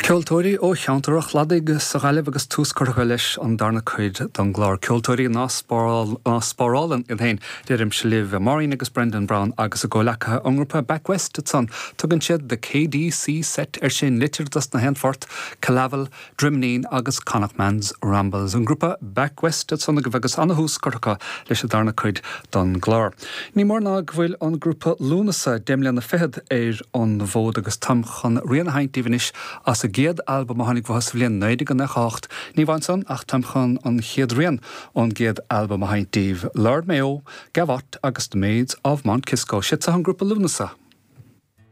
Ceoltóirí ó cheantar an Chladaigh sa Ghaillimh agus tús curtha leis an darna cuid den gclár Ceoltóirí ná spárálann iad féin, deirimse libh. Maureen agus Brendan Browne agus a gcomhleacaithe ón ngrúpa Back West ansan. Tugann siad The KDC Set air sin, litir dos na haon phort, Killavil, Droimnín agus Connachtman's Rambles. An grúpa Back West ansan agaibh agus ana-thús curtha acu leis an darna cuid don gclár. Ní mór ná go bhfuil an grúpa Lúnasa deich mbliana fichead ar an bhfód agus táim chun rian a sheinnt daoibh anois as a gcéad albam a tháinig uathu sa bhliain 1998. Ní amháin san ach táim chun an chéad rian ón gcéad albam a sheinnt daoibh, Lord Mayo, Gavotte agus The Maids of Mount Kisco. Siad seo an grúpa Lúnasa.